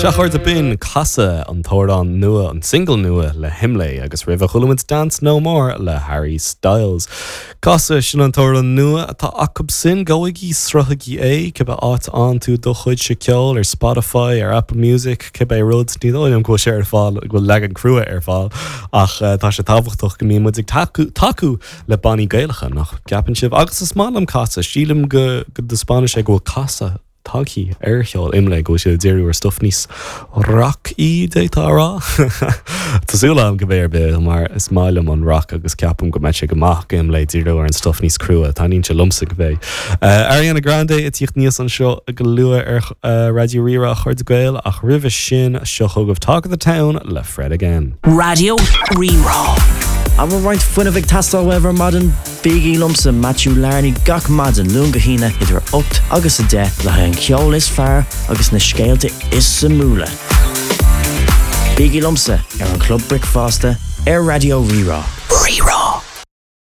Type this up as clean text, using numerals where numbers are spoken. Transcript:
Sea, a chairde, b'in Casadh, an t-amhrán nua, an single nua le hImlé agus roimhe chuala muid Dance No More le Harry Styles. Casadh, sin an t-amhrán nua atá acu sin, gabhaigí, sruthaigí é, cibé áit a fhaigheann tú do chuidse ceoil, ar Spotify, ar Apple Music, cibé rud, ní dóigh liom go bhfuil sé ar fáil, go bhfuil leagan crua ar fáil, ach tá sé tábhachtach go mbíonn muid ag tacú, tacú le bannaí Gaelacha, nach gceapann sibh? Agus is maith liom Casadh, sílim go, go dtaispeánann sé go bhfuil casadh tagtha ar cheol Imlé go bhfuil siad ag díriú ar stuff níos racaí, d'fhéadfá a rá. Tá súil agam cibé ar bith mar is maith liom an rac agus ceapaim go mbeidh sé go maith do Imlé díriú ar an stuff níos crua, taitníonn sé liomsa cibé. Ariana Grande ag tíocht aníos anseo go luath ar Raidió Rí-Rá a chairde Gael ach roimhe sin seo chugaibh Talk of the Town le Fred Again. Raidió Rí-Rá. An bhfuil roinnt fuinnimh ag teastáil uaibh ar maidin? Bígí liomsa, Matthew Larney, gach maidin, Luan go hAoine, idir 8 agus 10, le haghaidh an cheoil is fearr agus na scéalta is suimiúla. Bígí liomsa ar an Chlub Bricfeasta ar Raidió Rí-Rá. Rí-Rá.